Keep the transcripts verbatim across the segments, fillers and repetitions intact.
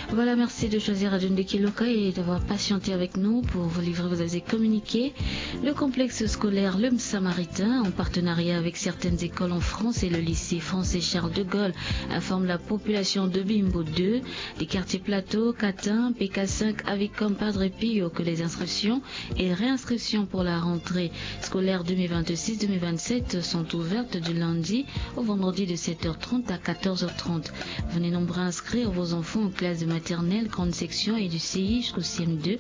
Voilà, merci de choisir Radio Ndeke Loka et d'avoir patienté avec nous pour vous livrer vos avis et communiqués. Le complexe scolaire Le Samaritain, en partenariat avec certaines écoles en France et le lycée français Charles de Gaulle, informe la population de Bimbo deux, des quartiers Plateau, Catin, P K cinq, Avicom, Padre Pio, que les inscriptions et réinscriptions pour la rentrée scolaire deux mille vingt-six deux mille vingt-sept sont ouvertes du lundi au vendredi de sept heures trente à quatorze heures trente. Venez nombreux inscrire vos enfants aux classes de maternelle, grande section et du C I jusqu'au C M deux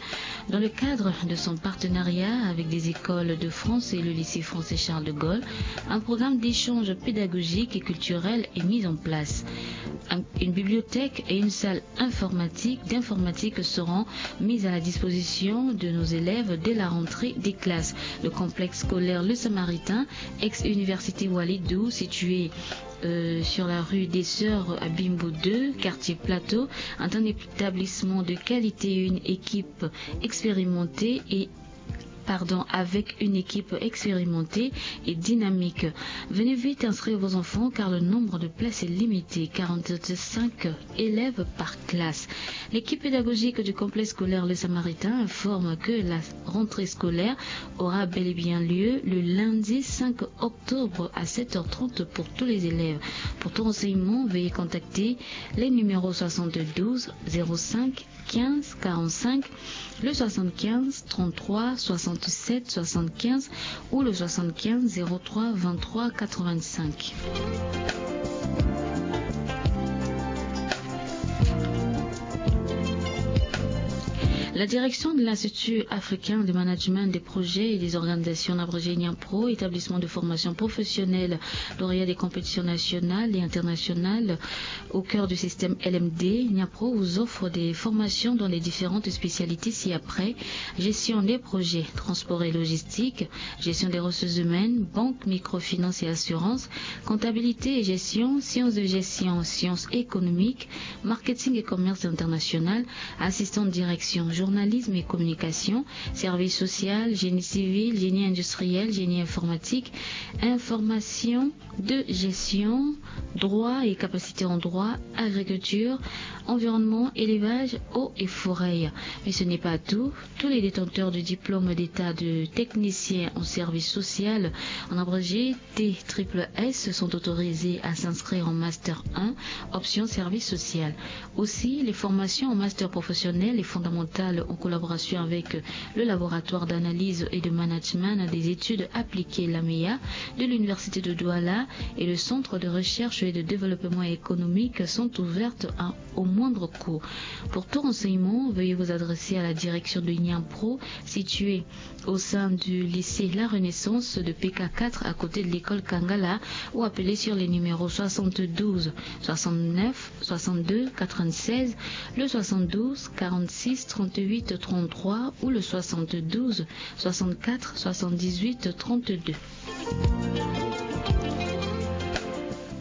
dans le cadre de son partenariat avec des écoles de France et le lycée français Charles de Gaulle. Un programme d'échange pédagogique et culturel est mis en place. Un- une bibliothèque et une salle informatique, d'informatique seront mises à la disposition de nos élèves dès la rentrée des classes. Le complexe scolaire Le Samaritain, ex-université Walidou, situé euh, sur la rue des Sœurs à Bimbo deux, quartier Plateau, est un établissement de qualité et une équipe expérimentée et pardon, avec une équipe expérimentée et dynamique. Venez vite inscrire vos enfants car le nombre de places est limité, quarante-cinq élèves par classe. L'équipe pédagogique du complexe scolaire Le Samaritain informe que la rentrée scolaire aura bel et bien lieu le lundi cinq octobre à sept heures trente pour tous les élèves. Pour tout renseignement, veuillez contacter les numéros soixante-douze zéro cinq quinze quarante-cinq, le soixante-quinze trente-trois soixante-sept soixante-quinze ou le soixante-quinze zéro trois vingt-trois quatre-vingt-cinq. La direction de l'Institut africain de management des projets et des organisations, en abrégé NIAMPRO, établissement de formation professionnelle, lauréat des compétitions nationales et internationales, au cœur du système L M D, NIAMPRO vous offre des formations dans les différentes spécialités ci-après: gestion des projets, transport et logistique, gestion des ressources humaines, banque, microfinance et assurance, comptabilité et gestion, sciences de gestion, sciences économiques, marketing et commerce international, assistant de direction, journalisme et communication, service social, génie civil, génie industriel, génie informatique, information de gestion, droit et capacité en droit, agriculture, environnement, élevage, eau et forêt. Mais ce n'est pas tout. Tous les détenteurs du diplôme d'État de technicien en service social, en abrégé T triple S, sont autorisés à s'inscrire en master un, option service social. Aussi, les formations en master professionnel et fondamental, en collaboration avec le laboratoire d'analyse et de management des études appliquées, l'AMEA, de l'université de Douala et le centre de recherche et de développement économique, sont ouvertes à- au moindre coût. Pour tout renseignement, veuillez vous adresser à la direction de NIAMPRO, située au sein du lycée La Renaissance de P K quatre, à côté de l'école Kangala, ou appeler sur les numéros soixante-douze soixante-neuf soixante-deux quatre-vingt-seize, le soixante-douze quarante-six trente-huit trente-trois ou le soixante-douze soixante-quatre soixante-dix-huit trente-deux.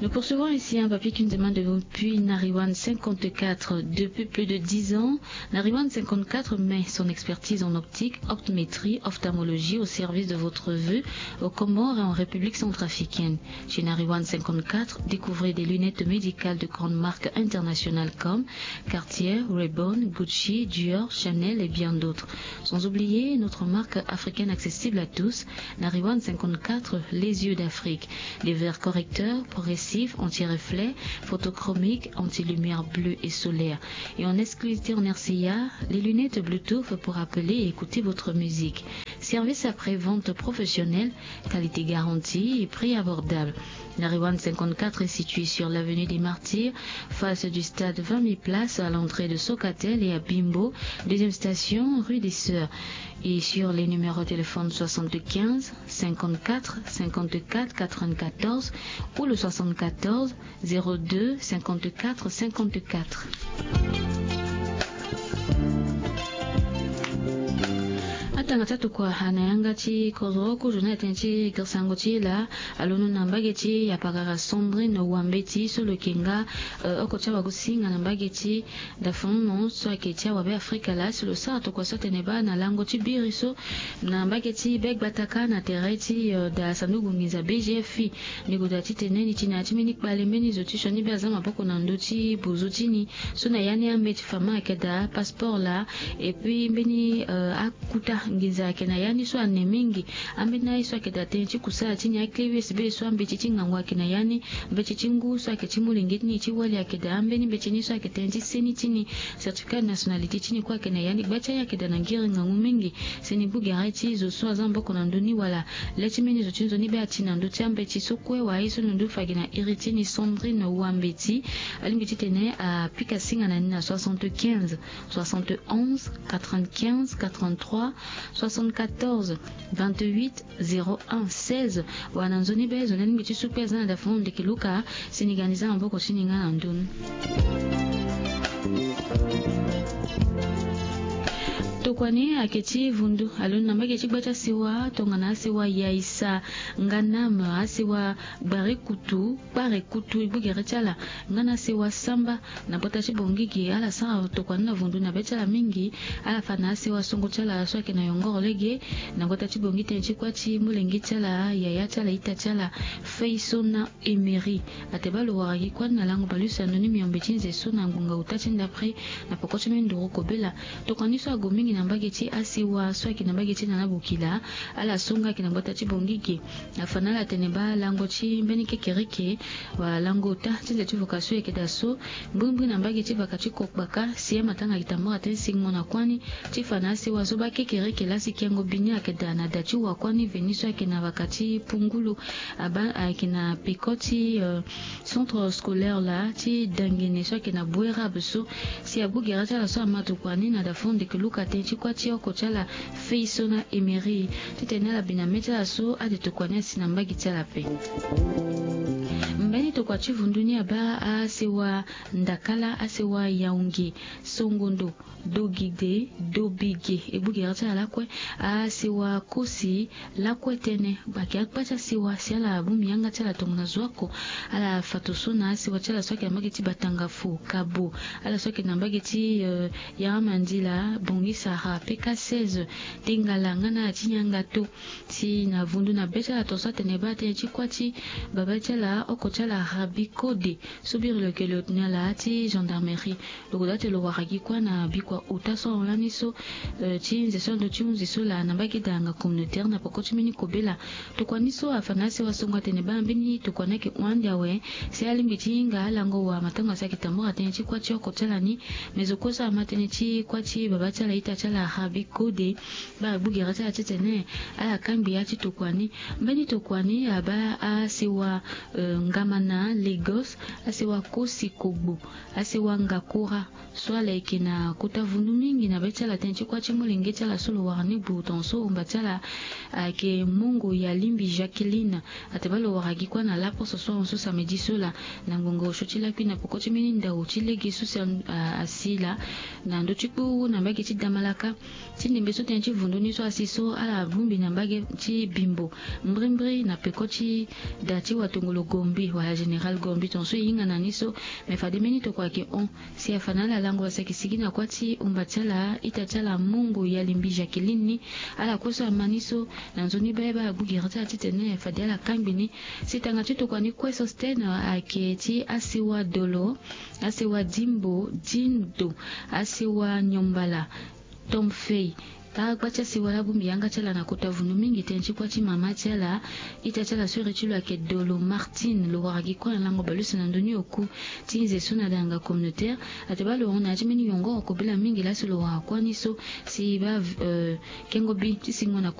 Nous poursuivons ici un papier qui nous demande depuis Nariwan cinquante-quatre. Depuis plus de dix ans, Nariwan cinquante-quatre met son expertise en optique, optométrie, ophtalmologie au service de votre vue aux Comores et en République centrafricaine. Chez Nariwan cinquante-quatre, découvrez des lunettes médicales de grandes marques internationales comme Cartier, Ray-Ban, Gucci, Dior, Chanel et bien d'autres. Sans oublier notre marque africaine accessible à tous, Nariwan cinquante-quatre, les yeux d'Afrique. Des verres correcteurs, progressifs, anti-reflet, photochromique, anti-lumière bleue et solaire. Et en exclusivité en R C A, les lunettes Bluetooth pour appeler et écouter votre musique. Service après-vente professionnel, qualité garantie et prix abordable. Nariwan cinquante-quatre est situé sur l'avenue des Martyrs, face du stade vingt mille places, à l'entrée de Socatel et à Bimbo, deuxième station, rue des Sœurs. Et sur les numéros de téléphone soixante-quinze cinquante-quatre cinquante-quatre quatre-vingt-quatorze ou le soixante-quatorze zéro deux cinquante-quatre cinquante-quatre. Tanga ti atokua na yanga ti kodro kozo na ya tënë ti girisango ti e laa alondo na mbage ti yapakara Sandrine Wambeti so lo yeke nga oko ti awagosinga na mbage ti dafunu so ayeke ti awabe Afrika laa si lo sara tokua so atene baa na lango ti biri so na mbage ti be gbataka na tere ti daa sanduku nginza B G F I. Ni goda titene ni ti na ya ti mbeni kpale mbeni zo ti sioni be aza maboko na ndö ti bozo ti ni so na ya ni ambeti fama ayeke daa passeport laa. Et puis mbeni akuta nginza ayeke na ya ni so ane mingi. Ambeni aye so ayeke daa tënë ti kusala ti ni aclé U S B so ambeti ti ngangu ayeke na ya ni. Mbeti ti ngu so ayeke ti molenge ti ni ti wali ayeke daa ambeni mbeti ni so ayeke tënë ti seni ti ni. Certificat de nationalité ti ni kue ayeke na ya ni. Gba ti aye ayeke daa na ngiri ngangu mingi. Si ni gbu gere ti zo so aza maboko na ndö ni wala le ti mbeni zo ti nzoni be ati na ndö ti ambeti so kue wala aye so ni ndu fa gi na iri ti ni Sandrine Wambeti. Alingbi titene apika singa na ni na soixante-quinze soixante-onze quatre-vingt-quinze quatre-vingt-trois soixante-quatorze vingt-huit zéro un seize. Wala na nzoni be zo ni alingbi ti su kue aza na dafunu ndeke luka. Si ni ga ni za maboko ti ni nga na ndö ni. Tokua ni ayeke ti vundu alondo na mbage ti gba ti asewa tongana asewa Yaisa Nganam, asewa Gbare Kutu, Kpare Kutu, e gbu gere ti ala nga na asewa Samba na gbata ti Bangui ge. Ala sara tokua ni na vundu na be ti ala mingi. Ala fa na asewa songo ti ala so ayeke na yongoro lege na gbata ti Bangui tënë ti kuâ ti molenge ti ala, yaya ti ala, ita ti ala, Feisona Emery. Ate baa lo wara gi kuâ ni na lango baleuse na ndö ni miombe ti nze so na ngonga ota ti ndapre na peko ti mbeni nduru kobela. Tokua ni so ague mingi na mbage ti asewa so ayeke na mbage ti Nana Bokila. Ala so nga ayeke na gbata ti Bangui ge. Afa na ala atene baa lango ti mbeni kekereke wala lango ota ti nze ti voka so e yeke daa so mbrimbri na mbage ti vaka ti Kokpaka si amatanga ayeke tambara tënë singo na kuâ ni ti fa na asewa so baa kekereke laa si kengo bi ni ayeke daa na da ti wa kuâ ni veni so ayeke na vaka ti Pungulu. Abaa ayeke na peko ti centre scolaire laa ti Dangene so ayeke na Bouérable so. Si agbu gere ti ala so ama tokua ni na dafo ndeke luka tënë ti kuâ ti oko ti ala Feisona Emery titene ala bi na mê ti ala so ade tokua ni asi na mbage ti ala ape. Mbeni tokua ti vundu ni abaa asewa Ndakala, asewa Yaoundé, Songondo, Dogide, Dobige, e gbu gere ti ala lakue. Asewa Kosi lakue tënë, ayeke akpa ti asewa si ala bongbi yanga ti ala tongana zo oko. Ala fato so na asewa ti ala so ayeke na mbage ti Batangafo, Kabo, ala so ayeke na mbage ti Yaramandila, Bangui Sahara, P K seize, Tengala nga na ala ti Niangato. Si na vundu na be ti ala tongaso atene baa tënë ti kuâ ti babâ ti ala, oko ti ala Rabi Kode so biri lo yeke lo na ala ti gendarmerie. Lo goda ti lo wara gi kuâ na bikua ota so ahon lani so ti nze so ando ti hunzi so laa na mbage danga communautaire na peko ti mbeni kobela. Tokua ni so afa na asewa songo atene baa mbeni tokua ni ayeke hon ande awe. Si alingbi ti hinga alango wa matango asi ayeke tambara tënë ti kuâ ti oko ti ala ni. Me zo kue so ama tënë ti kuâ ti babâ ti ala, ita ti ala Rabi Kode. Baa agbu gere ti ala titene ala kangbi ya ti tokua ni. Mbeni tokua ni abaa asewa Ngamana, Lagos, asewa Kosi Kogbo, asewa Ngakura so ala yeke na kota vundu mingi na be ti ala tënë ti kuâ ti molenge ti ala so lo wara ni gbu tongaso omba ti ala ayeke Mongo Yalimbi Jacqueline. Ate baa lo wara gi kuâ na laposo so ahon so samedi so laa na ngonga osio ti lakui na peko ti mbeni ndao ti lege so si asi laa na ndö ti kpuru na mbage ti Damalaka. Ti ndembe so tënë ti vundu ni so asi so ala bongbi na mbage ti Bimbo, mbrimbri na peko ti da ti watongolo Gombi wala général Gombi tongaso e hinga na ni so. Me fade mbeni tokua ayeke hon. Si afa na ala lango asi ayeke sigi na kuâ ti omba ti ala, ita ti ala Mongo Yalimbi Jacqueline ni. Ala kue so ama ni so na nzoni be baa agbu gere ti ala titene fade ala kangbi ni. Si tanga ti tokua ni kue so Sten ayeke ti asewa Dolo, asewa Dimbo, Dindo, asewa Nyombala, Tom Fei. Kâ gba ti asewa laa bongbi yanga ti ala na kota vundu mingi tënë ti kuâ ti mama ti ala, ita ti ala so iri ti lo ayeke Dolo Martine. Lo wara gi kuâ na lango baleuse na ndö ni oku ti nze so na danga communautaire. Ate baa lo hon na ya ti mbeni yongoro kobela mingi laa si lo wara kuâ ni so. Si baa kengo bi ti singo na kuâ